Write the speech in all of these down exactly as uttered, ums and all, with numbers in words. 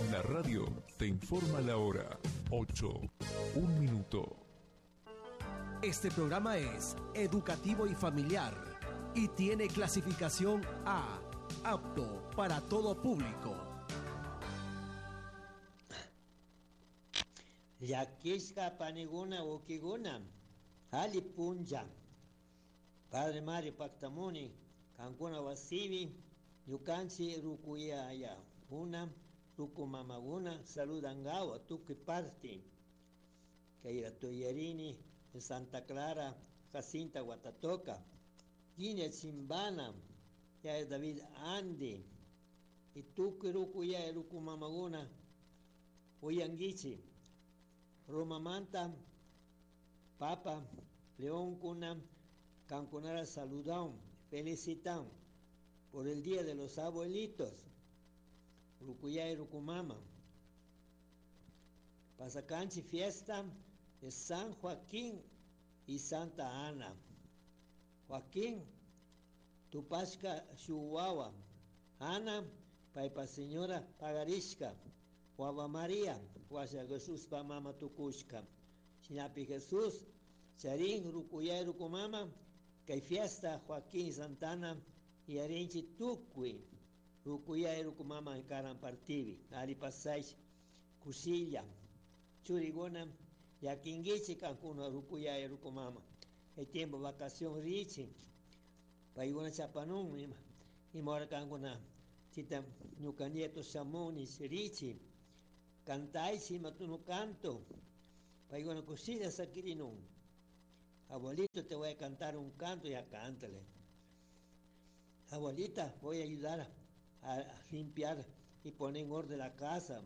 La radio te informa la hora ocho, un minuto. Este programa es educativo y familiar y tiene clasificación A, apto para todo público. Llakishka paniguna ukiguna, ali punlla. Padre Mario Pactamuni, kankuna wasibi, ñukanchi rukuyaya una, rukumamaguna, saludangawa, tukuy parte. Kayra Toyarini, en Santa Clara, Jacinta Guatatoca, Guinea Chimbana, ya David Andy, y tukuy rukuyaya rukumamaguna, uyanguichi. Roma Manta, Papa, León Cuna, Cancunara saludan, felicitan por el Día de los Abuelitos, Rucuyá y Rucumama. Pasacanchi fiesta de San Joaquín y Santa Ana. Joaquín, Tupashka Shuwawa, Ana, Paipa Señora Pagarishka, Guava María, Guasha Jesús pa mama tukushka. Shinapi Jesús, Charín, Rucuyá y Rucumama, kay fiesta Joaquín Santana y Arinchi Tukui, Rucuyá y Rucumama en Karan Partivi, Ali Pasay, Kusilla, Churigona, Yaquinguichi, Cancuna, Rucuyá y Rucumama. El tiempo vacación richi, Paiguna Chapanún, y mora Cancuna, Chita Ñuca Nieto Samoni, Richi, Cantaichi, Matuno Canto, Paiguna Kusilla Saquirinun. Abuelito, te voy a cantar un canto, ya cántale. Abuelita, voy a ayudar a, a limpiar y poner en orden la casa.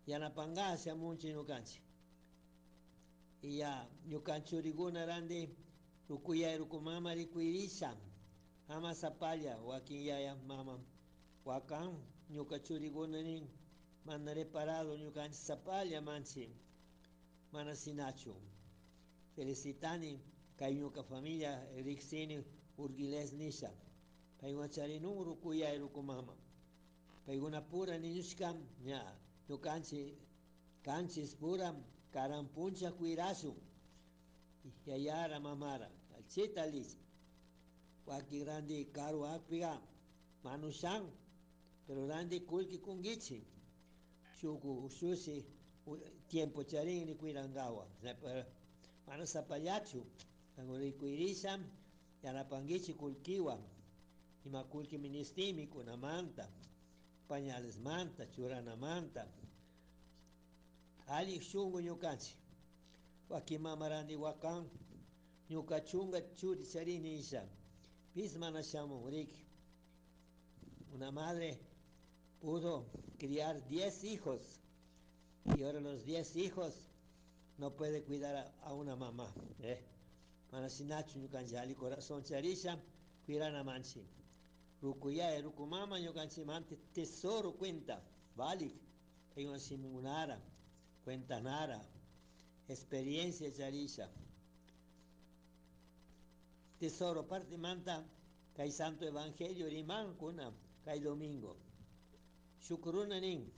Ya na pangasa mucho ñukanchi. Y ya ñukanchuriguna randi rukuya rukumama rikuirisha. Ama zapalla, wakin yaya mama. Wakan ñukachuriguna nin mana reparado ñukanchi zapalla manchi. Mana sinachu. Felicitani kay ñuka familia riksini Urguiles nisha. Paykuna charinun rukuya rukumama. Paykuna pura niñushka ña ñukanchi kanchis pura karampuncha kuirasun. Yayara mamara. Alchita lich. Waki grande karu akpiga manushan. Pero grande kulki kungichi. Shuku ushushi tiempo charin ni kuirangawa. Mana zapallachu, rikuirisha, yanapanguichi kulkiwa, ima kulki ministimi kunamanta, pañales manta, churanamanta, ali shungu ñukanchi, waki mamarandi wakan, ñuka chunga churi charini isha, pis mana shamun riki. Una madre pudo criar diez hijos, y ahora los diez hijos no puede cuidar a, a una mamá. Eh. Manasinachu ñukanchi ali corazón charisha, cuirana manchi. Rukuya rukumama ñukanchi mante tesoro cuenta, valik, simunara, cuenta nara, experiencia charisha. Tesoro parte manta, kay santo evangelio riman kuna, kay domingo. Shukuruna nin,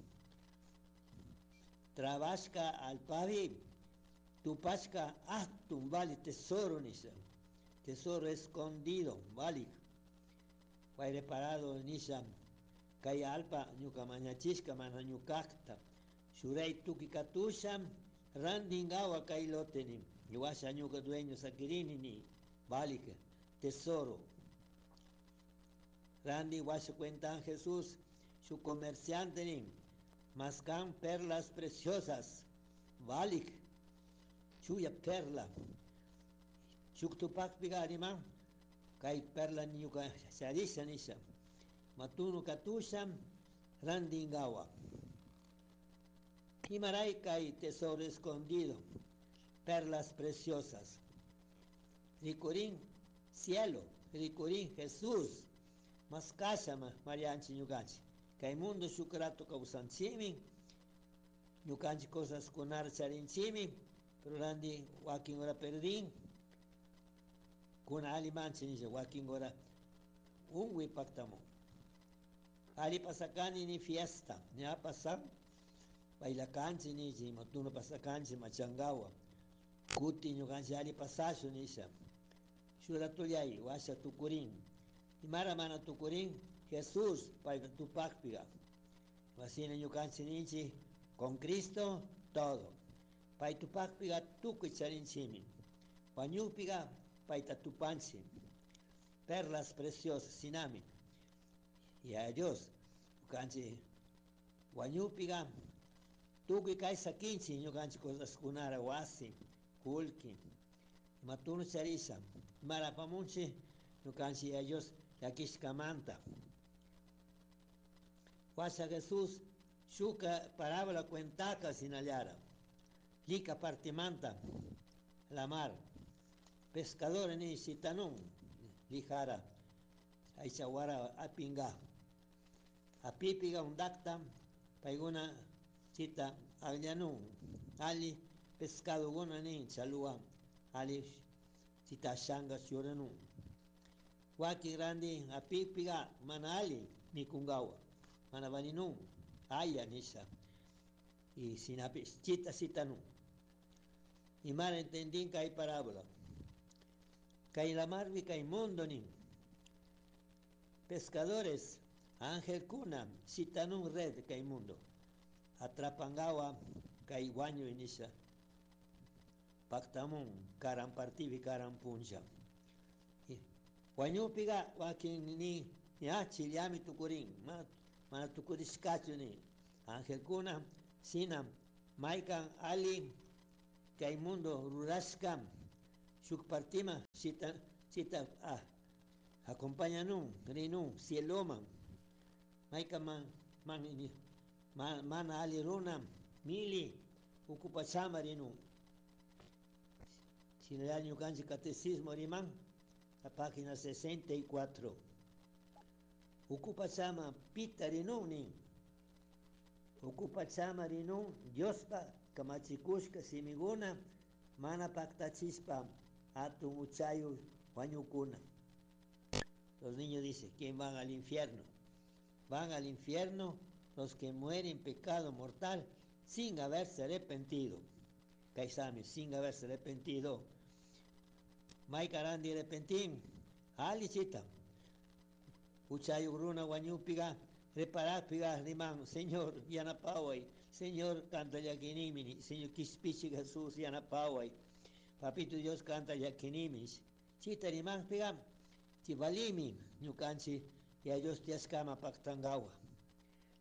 trabashka al pavi, tupashka atun vale tesoro nisha, tesoro escondido, vale. Reparado nisha, kay alpa ñuka mañachishka mana ñukakta, shuray tuki katusha, randingawa kay loteni, ñuwasha ñuka dueño sakirini ni, vale, tesoro. Randi washa cuentan Jesús, su comerciante ni, mascan perlas preciosas, vale. Chuya perla. Chuktupak pigarima, kay perla ñuka charisha nisha. Matunu katusha, randingawa. Imaray kay tesoro escondido, perlas preciosas. Ricurín cielo, ricurín Jesús, mascasha marianchi ñukanchi. Kay mundo shukrato kawsanchimi, ñukanchi cosas kunar charinchimi, pero randi wakin ora perdín, kuna ali manchi nisha wakin ora unwi pactamo. Ali pasakani ni fiesta, ña pasan Bailakanchi nichi, imatuno pasakanchi machangawa. Kuti ñukanchik ali pasashun nisha. Shuratuyay washa tukurin. Imara mana tukurin, Jesús payta tupakpiga. Wasina ñukanchik ninchik, con Cristo todo. Pay tupakpiga tukuy charinchimi. Wañupiga payta tupanchik. Perlas preciosas sinami. Y a Dios, ñukanchik wañupiga tukuy kay sakinchik ñukanchik cosaskunara wasi, kullki. Imatunu charisha, imara apamunchik ñukanchik a Dios llakishkamanta. Washa Jesús shuka parábola cuentaka sinallara. Lika partimanta la mar. Pescadores ni sitanun lijara. Aichawara apinga. Apipiga undakta paiguna chita agllanun. Ali pescado guna ni chalua. Ali chita shanga churanun. Waki grande apipiga manali mikungawa. Manabaninun. Aya nisha. Y sinapi chita sitanun. Y mal entendín que hay parábola. Kay la marvi kay mundo nin. Pescadores, ángel kuna, sitanun red kay mundo. Atrapangawa kay guaño inisha. Pactamun, karan partivi karan puncha. Guañupiga wakin ni ya chiliami tukurin, ma mana tukurishkachu ni. Ángel kuna, sinam, maikan ali kay mundo rurashkam. Shuk partima chita chita ah acompañanun rinun cieloman maika man man man mana ali runa mili ukupachama rinun sinal ñukanchik catecismo riman la página sesenta y cuatro ukupachama pita rinun nin ukupachama rinun Diospa kamachikushka simiguna mana paktachispa atun uchayu wañukuna. Los niños dicen, ¿quién van al infierno? Van al infierno los que mueren en pecado mortal sin haberse arrepentido. Kaisami, sin haberse arrepentido. Maikarandi arrepentín. Alichita. Uchayu runa wañupiga, reparápiga rimán, Señor, yanapaway. Señor, canta yakinimini. Señor, kispichi Jesús, yanapaway. Papito Dios canta yakinimis. Chita rimán piga, chivalimi, ñukanchi, y a Dios tiaskama paktangawa.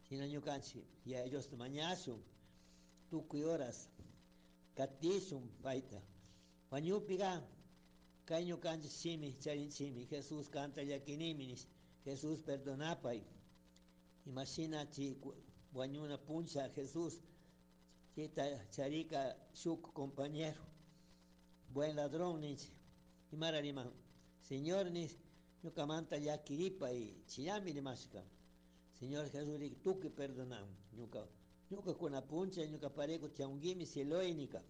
Sina ñukanchi, y a Dios mañasum, tukuy horas, katisum paita. Wañupiga, kay ñukanchi simi, charin simi, Jesús canta yakiniminis, Jesús perdonapay. Imagina chi wañuna puncha Jesús, chita charika shuk compañero, buen ladrón ninchi, imara riman, Señor nis, ñukamanta llakiripa y chiyami rimashka. Señor Jesús rik tuki perdonam, ñuka, ñuka kuna puncha, ñuka pareco tianguimi cieloinica.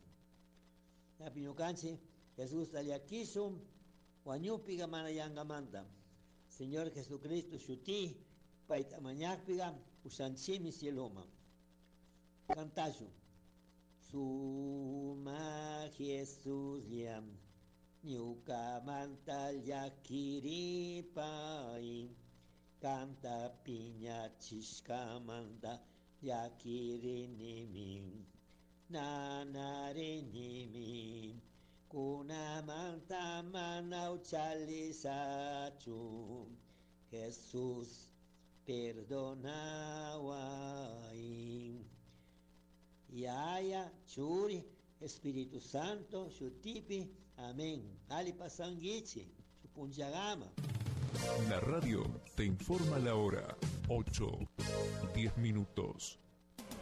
Yapi ñukanchi, Jesús llakishum, wañupiga mana yangamanta. Señor Jesucristo shuti, paita mañakpiga, ushanchimi cieloma. Cantashu. Suma Jesús liam, ñukamanta llakiripai, canta piña chishkamanta llakirinimi, nanarinimi, kunamanta manauchalisachu, Jesús perdonawai. Yaya, Churi, Espíritu Santo, Shutipi, amén. Ali pasanguichi, Chupunchagama. La radio te informa la hora, ocho, diez minutos.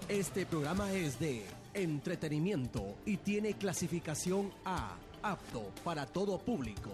Este programa es de entretenimiento y tiene clasificación A, apto para todo público.